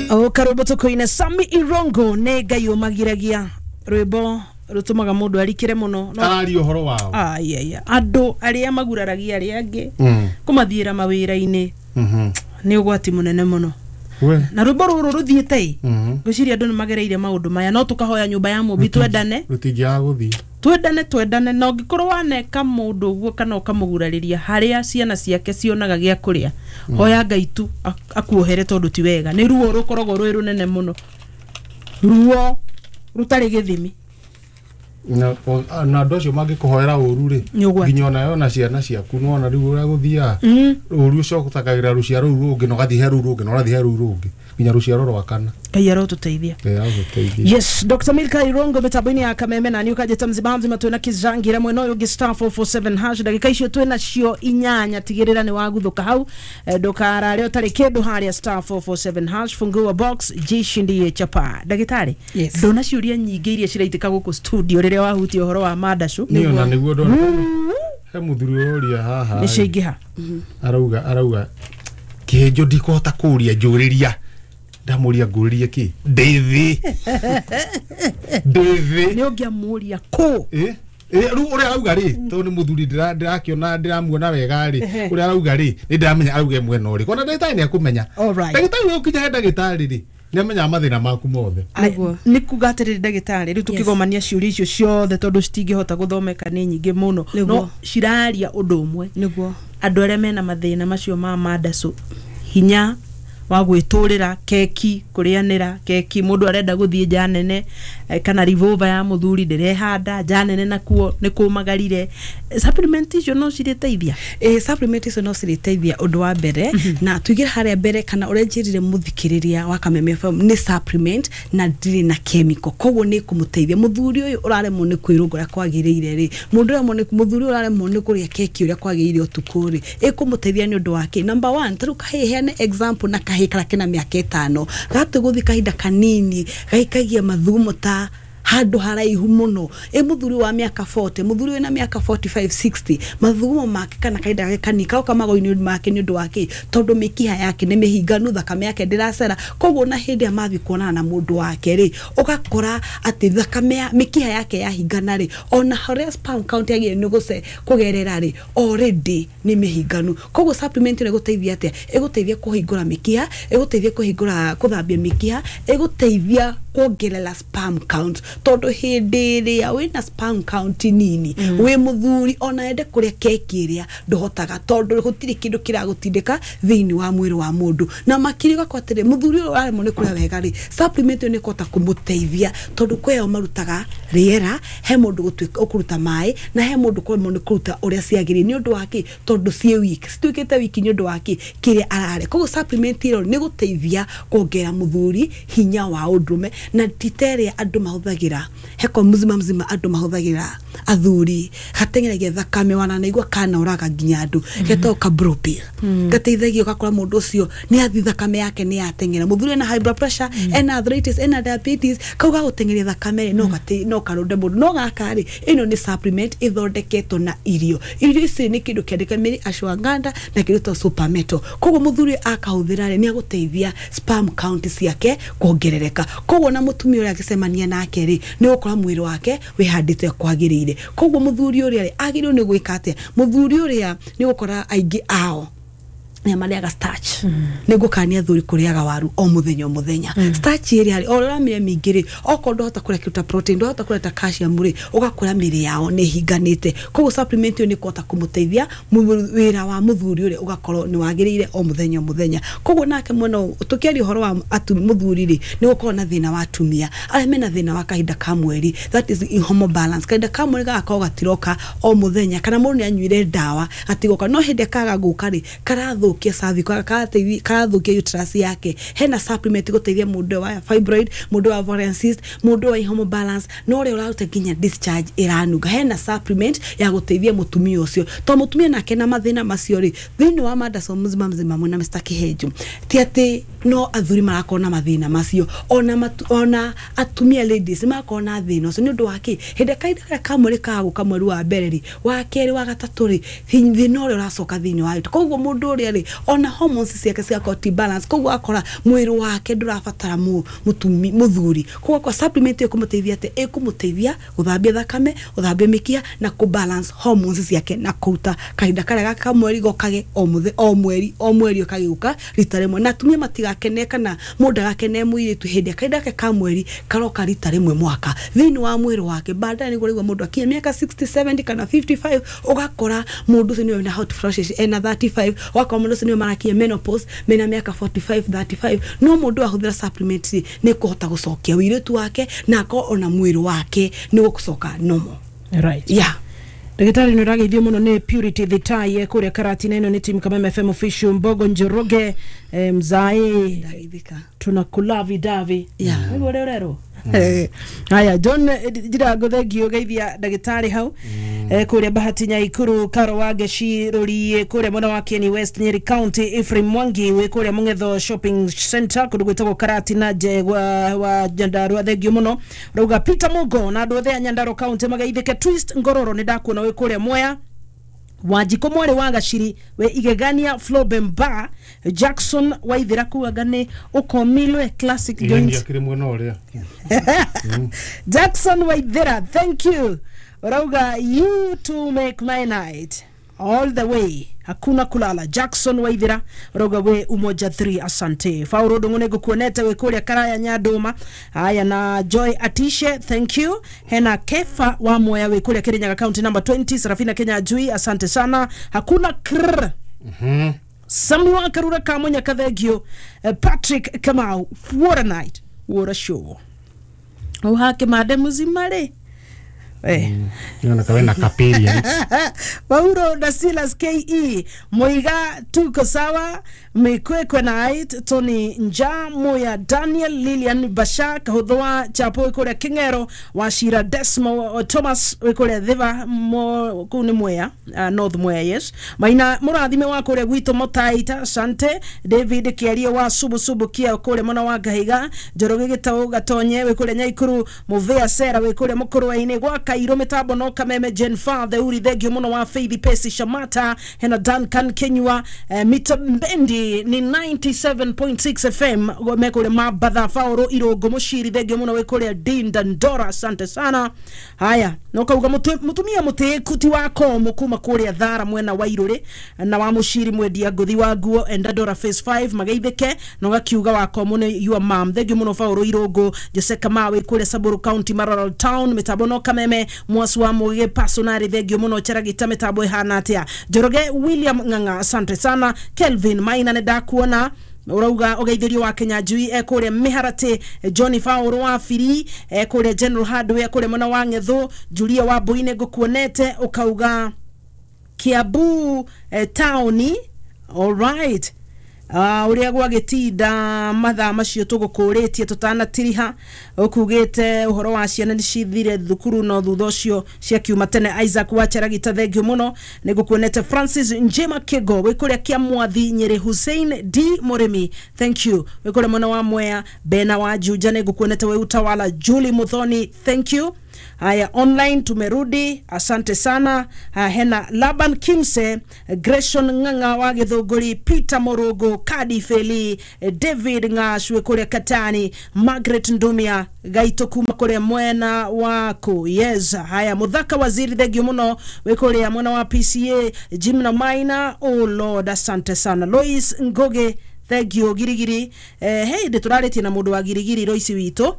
Karwĩmbo tũkũina Sami Irongo nĩ Ngai ũmagiragia, rwĩmbo rũtũmaga mũndũ arikĩre mũno no Araria ũhoro wao. Ai, ai, ai. Andũ arĩa maguraragia arĩa angĩ kũmathiĩra mawĩra-inĩ nĩ ũgwati mũnene mũno. We. Na rwĩmbo rũrũ rũthiĩte ĩ, ngwĩciria andũ nĩ magereire maũndũ maya, no tũkahoya nyũmba ya mũmbi twendane. Rũtingĩaga gũthiĩ. Twendane, twendane. Na ũngĩkorwo waneka mũndũ ũguo kana ũkamũgurarĩria harĩa ciana ciake cionaga gĩa kũrĩa, hoya Ngai tu akuohere, tondũ ti wega. Nĩ ruo rũkoragwo rwĩ rũnene mũno, ruo rũtarĩ gĩthimi. Na andũ acio mangĩkũhoera ũru rĩ, Nĩ ũgwati. nginya onawe ona ciana ciaku nĩwona rĩu ũrĩa gũthiaga, ũru ũcio ũtakagĩra rũciaro rũu rũngĩ, na ũgathiĩ he rũu rũngĩ, na ũrathiĩ he rũu rũngĩ, nginya rũciaro rwa kana. Ngai arotũteithia. Ngai agũteithie. Yes, Dr. Milka Irongo mĩtambo-inĩ ya Kameme, na niĩ ũkanjĩta mzima mzima. Twĩna Kizangira mwena ũyũ ũngĩ. *447#, ndagĩka icio twĩna cio 8, tigĩrĩra nĩ waguthũka hau. Ndũkarare ũtarĩ kĩndũ harĩa *447#, fungua box, jishindie chapa. Ndagĩtarĩ, Yes. ndona ciũria nyingĩ iria ciraitĩka gũkũ studio rĩrĩa wahutia ũhoro wa mandacũ. Niĩ ona nĩguo ndona he mũthuri ũroria haha. Nĩ ciaingĩha. Arauga kĩhĩnjo ndikũhota kũũria, njũrĩria. Ndamũria ngũrĩrie kĩ, ndĩ thĩ, ndĩ thĩ. Nĩ ũngĩamũria kũ? Ĩ, ĩ, rĩu ũrĩa arauga rĩ, tondũ nĩ mũthuri ndĩrakĩona, ndĩramuona wega rĩ, ũrĩa arauga rĩ, nĩ ndĩramenya arauge mwena ũrĩkũ, ona ndagĩtarĩ nĩ akũmenya. Alright. Ndagĩtarĩ ũyũ ũkinya he ndagĩtarĩ rĩ, nĩ amenyaga mathĩna maku mothe. Nĩguo. Nĩ kuga atĩrĩrĩ ndagĩtarĩ, rĩu tũkĩgomania ciũria icio ciothe, tondũ citingĩhota gũthomeka nĩ nyingĩ mũno, no ciraria ũndũ ũmwe. Andũ arĩa mena mathĩna macio ma mandacũ, hinya wa gwĩtũrĩra keki, kũrĩanĩra keki, mũndũ arenda gũthiĩ nja nene, kana revolver ya mũthuri ndĩrehanda nja nene, nakuo nĩ kũmagarire, supplement icio no cirĩteithia? Ĩ, supplement icio no cirĩteithia. Ũndũ wa mbere, na tuigire harĩa mbere kana ũrĩa njĩrire mũthikĩrĩria wa Kameme FM, nĩ supplement na ndirĩ na chemical, koguo nĩ kũmũteithia mũthuri ũyũ ũraremwo nĩ kwĩrũnga ũrĩa kwagĩrĩire rĩ, mũndũ ũraremwo nĩ mũthuri ũyũ ũraremwo nĩ kũrĩa keki ũrĩa kwagĩrĩire ũtukũ rĩ, ĩkũmũteithia nĩ ũndũ wa kĩ? Number one, tarĩu kahĩĩ, heane example na kahĩĩ karĩa kena mĩaka 5, gatĩ gũthiĩ kahinda kanini gaikagia mathugumo ta handũ haraihu mũno. Ĩ mũthuri wa mĩaka 40, mũthuri wĩna mĩaka 45, 60, mathugumo make kana kahinda gake kanini karoka magũrũ-inĩ make nĩ ũndũ wa kĩ? Tondũ mĩkiha yake nĩ mĩhinganu, thakame yake ndĩracera, koguo na hĩndĩ ĩrĩa mathiĩ kuonana na mũndũ wake rĩ, ũgakora atĩ thakame ya mĩkiha yake yahingana rĩ, ona harĩa sperm count yagĩrĩire nĩ gũce kũgerera rĩ, already nĩ mĩhinganu. Koguo supplement ĩno ĩgũteithia atĩa? Ĩgũteithia kũhingũra mĩkiha, ĩgũteithia kũhingũra, kũthambia mĩkiha, ĩgũteithia kuongerera sperm count, tondũ hĩndĩ ĩrĩa wĩna sperm count nini, wĩ mũthuri, ona ende kũrĩa keki ĩrĩa ndũhotaga, tondũ gũtirĩ kĩndũ kĩragũtindĩka thĩinĩ wa mwĩrĩ wa mũndũ. Na makĩria ũgakora atĩrĩ, mũthuri ũyũ ũraremwo nĩ kũrĩa wega rĩ, supplement ĩyo nĩ ĩkũhota kũmũteithia, tondũ kwĩyo marutaga rĩera, he mũndũ gũtuĩka ũkũruta maĩ, na he mũndũ kũremwo nĩ kũruta ũrĩa ciagĩrĩire. Nĩ ũndũ wa kĩ? Tondũ ciĩ weak, cituĩkĩte weak nĩ ũndũ wa kĩ? Kĩrĩa ararĩa. Koguo supplement ĩyo nĩ gũteithia kuongerera mũthuri hinya wa ũndũrũme, na ti ta ĩrĩa andũ mahũthagĩra heko mzima mzima, andũ mahũthagĩra athuri gateng'eragia thakame, wananaigua kanoraga nginya andũ, getagwo ka blue pill, gateithagia ũgakora mũndũ ũcio nĩ athi thakame yake nĩ yateng'era. Mũthuri ena high blood pressure, ena arthritis, ena diabetes, kau gagũteng'eria thakame rĩ, no gate no karũnde mũndũ. No gaka rĩ, ĩno nĩ supplement ĩthondeketwo na irio. Irio ici nĩ kĩndũ kĩandĩke mĩrĩ ashwagandha na kĩndũ ta super metal. Koguo mũthuri akahũthĩra rĩ, nĩ agũteithia sperm count ciake kuongerereka, koguo na mũtumia ũrĩa agĩcemania nake rĩ, nĩ ũgũkora mwĩrĩ wake wĩhandĩte kwagĩrĩire. Koguo mũthuri ũrĩa rĩ, agĩrĩirwo nĩ gwĩka atĩa? Mũthuri ũrĩa nĩ ũgũkora aingĩ ao nĩ marĩaga starch. Nĩ ngũkania athuri kũrĩaga waru o mũthenya o mũthenya. Starch ĩrĩa rĩ, o ũrĩa ũramĩrĩa mĩingĩ rĩ, okorwo ndũhota kũrĩa kĩndũ ta protein, ndũhota kũrĩa ta calcium rĩ, ũgakora mĩrĩ yao nĩ ĩhinganĩte. Koguo supplement ĩyo nĩ ĩkũhota kũmũteithia wĩra wa mũthuri ũrĩa ũgakorwo nĩ wagĩrĩire o mũthenya o mũthenya. Koguo nake mwena ũyũ, tũkĩaria ũhoro wa mũthuri rĩ, nĩ gũkorwo na thĩna wa atumia arĩa mena thĩna wa kahinda ka mweri, that is hormone balance, kahinda ka mweri gagakorwo gatiroka o mũthenya, kana mũndũ nĩ anyuire ndawa gatigoka, no hĩndĩ kaga gũka rĩ, karathũkia cervix, karathũkia uterus yake. Hena supplement gũteithia mũndũ wa fibroid, mũndũ wa ovarian cyst, mũndũ wa hormone balance, na ũrĩa ũraruta nginya discharge ĩranunga. Hena supplement ya gũteithia mũtumia ũcio, to mũtumia nake na mathĩna macio rĩ, thĩinĩ wa Mandaso mzima mzima mwena Mr. Kihenjo, ti atĩ no athuri marakorwo na mathĩna macio, ona atumia, ladies, marakorwo na thĩna ũcio. Nĩ ũndũ wa kĩ? Hĩndĩ kahinda karĩa ka mweri kaga gũka, mweri wa mbere rĩ, wa kerĩ, wa gatatũ rĩ, thĩna ũrĩa ũracoka thĩinĩ wa koguo mũndũ ũrĩa rĩ rĩ, ona hormones ciake cigakorwo ti balance, koguo akora mwĩrĩ wake ndũrabatara mũthuri. Koguo kwa supplement ĩkũmũteithia atĩ ĩkũmũteithia gũthambia thakame, gũthambia mĩkiha na kũ balance hormones ciake na kũruta kahinda karĩa gaka ka mweri gokage o mũthĩ o mweri o mweri ũkagĩũka rita rĩmwe. Na atumia matigakene kana mũndũ agakene mũirĩtu hĩndĩ kahinda gake ka mweri karoka rita rĩmwe mwaka thĩinĩ wa mwĩrĩ wake. Baadaye nĩguo rĩu mũndũ akinya mĩaka 60 70 kana 55 ũgakora mũndũ ũcio nĩwe na hot flashes ena 35, ũgakora mũndũ ũcio nĩwe marakinya menopause mena mĩaka 45 35. No mũndũ ahũthĩra supplement nĩ kũhota gũcokia ũirĩtu wake na akorwo ona mwĩrĩ wake nĩ gũcoka normal. Right. Yeah. Ndagĩtarĩ nĩ ũrageithio mũno nĩ Purity Thitai kũrĩa Karatina. Ĩno nĩ team Kameme FM official Mbogo Njoroge, mzae tunakulavi davi. Yeah. Nĩguo ũrĩa ũrerwo. Haya John Njirango thengio geithia ndagĩtarĩ hau kũrĩa Bahati Nyaikuru, Karo wa Ngeci Rũriĩ kũrĩa mwena wa Kieni West Nyeri County, Ephraim Mwangi wĩ kũrĩa Mũng'etho Shopping Center kũndũ gwĩtagwo Karatina wa Nyandarua, thengio mũno. Rauga Peter Mugo na andũ othe a Nyandarua County mageithĩke. Twist Ngororo nĩ ndakuona wĩ kũrĩa Mwea. Wanjikũ mwarĩ wa Gaciri we Igegania Flobemba Jackson Waithira kuaga nĩ ũkomilwe Classic Joint kiri mwena ũrĩa. Jackson Waithira, thank you. Rauga you to make my night all the way, hakuna kulala. Jackson Waithira rauga we Umoja 3, asante. Fauro Ndung'u ngukuonete we kuria Karaya Nyanduma. Haya na Joy Atishe, thank you. Hena Kefa wa Moya we kuria Kirinyaga County number 20, Serafina Kenya Jui, asante sana. Hakuna krr. Samuel Karura Kamunya kathengio. Patrick Kamau, what a night, what a show. Uhake made muzima ri. Niona kawe na kaperience. Paulo da Silas KE Moiga tuko sawa. Mikwekwe night Tony Nja Moya Daniel Lilian Basha Kahudhwa Chapo kuria Kingero Washira Desmo Thomas kuria Thiva kuu ni Mwea, North Mwea, yes. Maina murathime wa kuria gwitũ Motaita, asante. David Kiaria wa Subu Subu kia kuria mwana wa Ngahiga, Njoroge Gitau Gatonye we kuria Nyaikuru, Muvea Sera we kuria Mukurwe-ini gwa Kairo mitambo no Kameme Jen Father uri thengio muno wa Faith Pesi Shamata hena Duncan Kenyua, Mita Mbendi ni 97.6 FM mekure Mabatha Fauro Irongo Mushiri thengio muno we kuria Dinda Ndora, asante sana. Haya no kauga mutumia mutiku ti wa komo kuma kuria Thara mwena wa Iruri na wa Mushiri mwendia nguthi wa nguo enda Ndora phase 5 mageithike no gakiuga wa komo ni your mom thengio muno Fauro Irongo. Jose Kamawe kuria Samburu County Maralal Town mitambo no Kameme Mwasu wa Muge personari thengio muno Cheragita mitambo ihana atia. Njoroge William Ng'ang'a, asante sana. Kelvin Maina nĩ ndakuona urauga ugeithirio wa Kenya Njui kuria Miharati, Johnny Fauro wa Biri kuria General Hardware kuria mwena wa Ng'ethu, Julia wa Mbuine ngukuonete ukauga Kiambu taoni. All right. Uria gwagĩtinda mathaa macio tũgũkũrĩtie tũtanatiriha ũkugĩte ũhoro wa ciana nĩ cithire thukuru no thutha ũcio ciakiuma tene. Isaac wa Cheragita thengio mũno nĩ ngũkuonete. Francis Njema Kigo wĩ kũrĩa Kĩamwathi Nyĩrĩ, Hussein D Mũrĩmi, thank you, wĩ kũrĩa mwena wa Mwea. Bena wa Juja nĩ ngũkuonete wĩ Utawala. Julie Muthoni, thank you. Haya online tumerudi, asante sana. Hena Laban Kimse, Greshon Ng'ang'a wa Githũngũri, Peter Morogo, Kadi Feli, David Ng'ashwe kuria Katani, Margaret Ndumia Gaito kuma kuria mwena wako. Yes. Haya Muthaka Waziri thengio muno we kuria mwena wa PCA, Jim na Maina, oh Lord, asante sana. Lois Ngoge thengio Girigiri. Hey ndĩtũrarĩtie na mũndũ wa Girigiri Lois witũ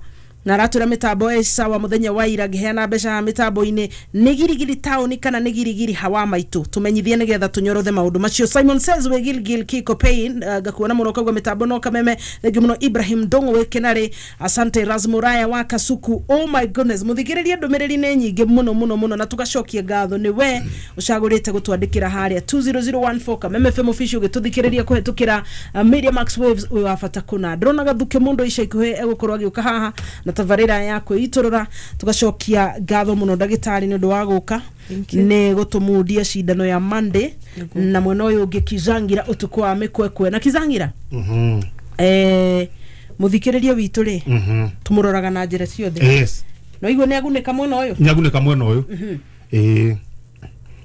na aratura mitambo ĩ sawa muthenya wa ira ngiheana mbeca mitambo-inĩ. Nĩ Girigiri taũni kana nĩ Girigiri hawa maitũ tumenyithie nĩgetha tũnyorothe maũndũ macio. Simon says we Gilgil Kiko Pain, ngakuona mũno kaugua mitambo no Kameme thengio mũno. Ibrahim Ndong'o wĩ Kenarĩ, asante. Rasmuraya wa Kasuku, oh my goodness, mũthikĩrĩrie ndũmĩrĩri nĩ nyingĩ mũno mũno mũno na tũgacokia ngatho nĩ we ũcagũrĩte gũtwandĩkĩra harĩa 20014 Kameme FM official ũgĩtũthikĩrĩria kũhetũkĩra Media Max Waves wĩ wa bata kũna. Ndĩrona gathuke mũndũ ica ikuhĩ egũkorwo agĩũka haha na tabarĩra ya kwĩitũrũra. Tugacokia ngatho mũno ndagĩtarĩ nĩ ũndũ wa gũka nĩ gũtũmundia cindano ya Monday na mwena ũyũ ũngĩ Kizangira ũtukũ wa mĩkwekwe na Kizangira mũthikĩrĩria witũ rĩ tũmũroraga na njĩra ciothe. Yes. No igua nĩ agunĩka mwena ũyũ, nĩ agunĩka mwena ũyũ.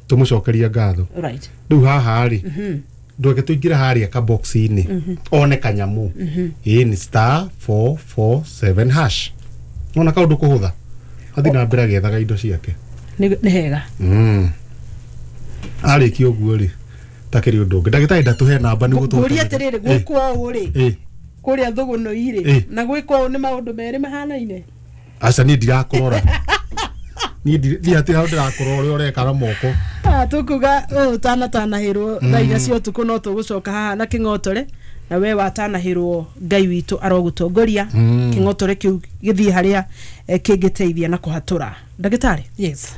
Tũmũcokeria ngatho. Right. Rĩu haha rĩ Ndweke tũingĩre harĩa kabox-inĩ one kanyamũ. Ĩĩ nĩ star 447 hash. Nona kaũndũ kũhũtha. Athiĩ na mbere agĩethaga indo ciake. Nĩ hega. Arĩkia ũguo rĩ takĩrĩ ũndũ ũngĩ. Ndagĩtarĩ ndatũhe namba nĩguo tũhote. Ngũria atĩrĩrĩ gwĩkwo ũũ rĩ kũrĩa thũgũnũ-irĩ na gwĩkwo ũũ nĩ maũndũ merĩ mahanaine. Aca niĩ ndirakũrora. Niĩ niĩ hatirĩ handũ ndĩrakũrora ũrĩa ũreka na moko. Tũkuga ũũ ũtanatanahĩrwo thaa inya cia ũtukũ no tũgũcoka haha na kĩng'otore na we watanahĩrwo Ngai witũ arogũtongoria kĩng'otore kĩu gĩthiĩ harĩa kĩngĩteithia na kũhatũra. Ndagĩtarĩ. Yes.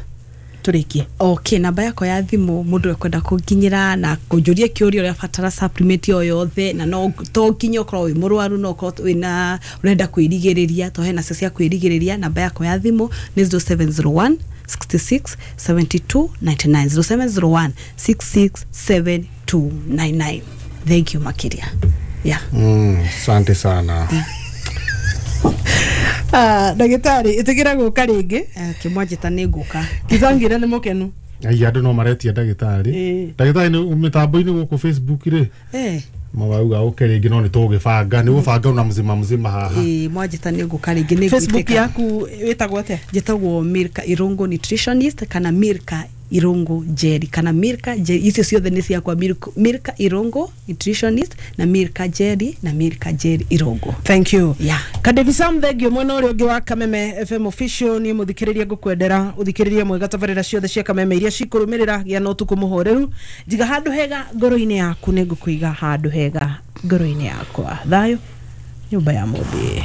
Tũrĩkie. Okay, namba yakwa ya thimũ mũndũ ekwenda kũnginyĩra na kũnjũria kĩũria ũrĩa batara supplement o yothe na no to nginya ũkorwo wĩ mũrwaru no ũkorwo wĩna ũrenda kwĩrigĩrĩria to hena cio cia kwĩrigĩrĩria. Namba yakwa ya thimũ nĩ 0701 66 72 99 0701 66 72 99. Thank you makĩria. Yeah. Asante sana. Ndagĩtarĩ ĩtĩkĩra gũka rĩngĩ. Kĩmwanjĩta nĩ ngũka. Kizangira nĩ mũkenu. Ai andũ no maretia ndagĩtarĩ. Ndagĩtarĩ nĩ mĩtambo-inĩ gũkũ Facebook rĩ. Mawauga ũke rĩngĩ no nĩ tũgũgĩbanga nĩ gũbanga na mzima mzima haha. Mwanjĩta nĩ ngũka rĩngĩ nĩ Facebook yaku wĩtagwo atĩa? Njĩtagwo Milka Irungu Nutritionist kana Milka Irungu Jerry kana Milka Jerry. Icio ciothe nĩ ciakwa, Milka Irungu Nutritionist na Milka Jerry na Milka Jerry Irungu. Thank you. Yeah. Kadevi Sam thengio mwena ũrĩa ũngĩ wa Kameme FM official niĩ mũthikĩrĩria ngũkwendera ũthikĩrĩrie mwega tabarĩra ciothe cia Kameme iria cikũrũmĩrĩra gĩa na ũtukũ mũhoreru. Njiga handũ hega ngoro-inĩ yaku nĩ ngũkũiga handũ hega ngoro-inĩ yakwa. Thayũ nyũmba ya mũmbi.